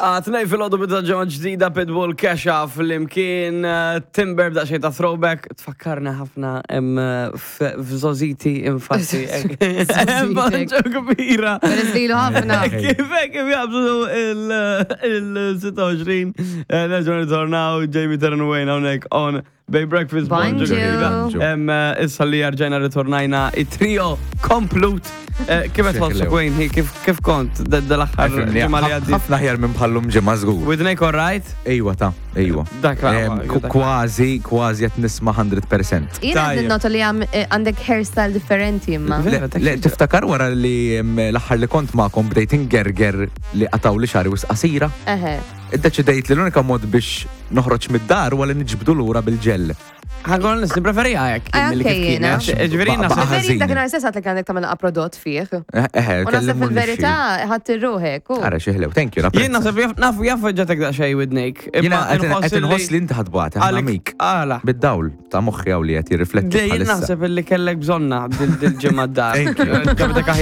Tnej fil-ħodu bidda ġemma ġdida Pitbull Kesha fl-imkien eh, Timber b'daqxej ta' throwback tfakkarna ħafna eh, f'żoziti infatti. Banġo kbira. Peress ħafna. Kif kif jabżu il-26 eh, nerġgħu ritornaw Jamie Terran Wayne hawnhekk on Bay Breakfast Bonġu. Eh, issa li rġajna ritornajna it-trio komplut. Eh, kif qed tħossu Wayne, hi, kif kif kont dal-aħħar ġimgħa li għaddiet? Ħafna ħjar minn bħallum ġimgħa żgur. Widnejk all right? Ejwa ta' ejwa. Dak la. Kważi, kważi qed nisma' 100%. Jiena qed ninnota li eh, għandek hairstyle differenti imma. Le, tiftakar wara li l-aħħar li kont magħkom bdejt ingerger li qataw li xari wisq qasira? Eħe. Iddeċidejt li l-unika mod biex noħroġ mid-dar huwa li niġbdu lura bil-ġell. Ħankun onest, nippreferija hekk eh, milli kif anke jiena. kienet. Ġifieri Ba- naħseb ba- Preferi ħażin. dakinhar stess għatlek għandek tagħmel prodott fih. Eh, eh, U naħseb kellimuni fil-verità ħadd irruħek. u- Ara xi ħlew, thank you. Jien napprezza. naħseb jaf- nafu jaf ġatek daqsxejn widnejk. Jiena qed inħoss li inti ħadbata, ħana ħamik. Għala. Bid-dawl ta' moħħi hawn li qed jirrifletti Jien bħalissa. naħseb illi kellek bżonna dil-ġimgħa d-dar. Thank you. Ġabetek aħjar.